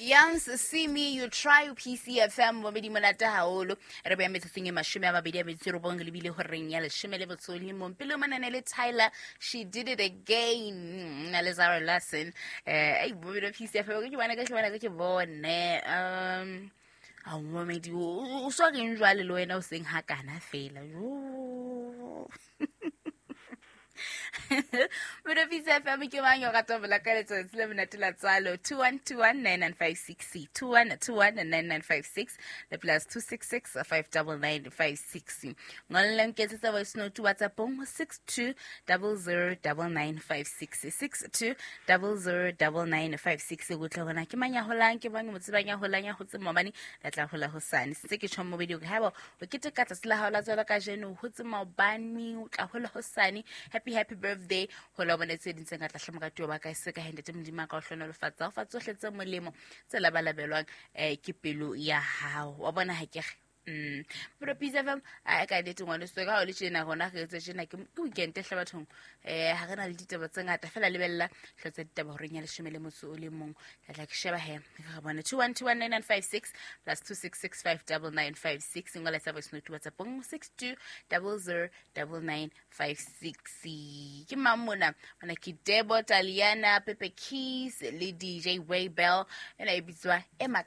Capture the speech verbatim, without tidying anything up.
Youngs See Me You Try P C F M momedi monate haholo re beya metsotsong e mashome a mabedi a metso e robong lebile horeng ya leshome le motso o le mong. Pele manane le Tyler, She Did It Again, na le Zara Larsson. Eh, ai momedi wa P C F M ke bona ke bona ke bone. Um a momedi o so reng jwale le wena o seng hakana fela. Jo. Mona P C F M ke mang yo rata ho bala ka letsatsi le monate la tswalo? two one two one nine nine five six, two one two one nine nine five six le plus two six six five double nine five six. Ngolla nketsetsa voice note WhatsApp-ong six two double zero double nine five six, six two double zero double nine five six. Go tla bona ke mang ya holang, ke mang mo tsebang ya holang ya hotse maobane, la tla hola hosane. Sentse ke tjho mobedi hore haeba o keteka tsatsi la hao la tswalo kajeno, o hotse maobane, o tla hola hosane. Happy, happy birthday. Ho la bone tse ding tse ngata hle moratuwa wa ka, se ka hende Modimo a ka o hlohonolofatsa, o fa tsohle tse molemo tse labalabelwang, eh, ke pelo ya hao. Wa bona ha ke re? Mm. Pero P C F M, a ka nnete ngwaneso, ka ha o le tjena, rona re etse tjena, ke, ke weekend hle bathong. Eh, ha re na le ditaba tse ngata, feela lebella hle tsa ditaba horeng ya leshome le motso o le mong. Ka tla ke sheba he, re bone two one two one nine nine five six plus two six six five double nine five six. Ngola tsa voice note WhatsApp-ong six two double zero double nine five six. Ke mang mona? Mona ke Debo Taliana, Pepe Keys le D J Waybell. Ena e bitswa Emma.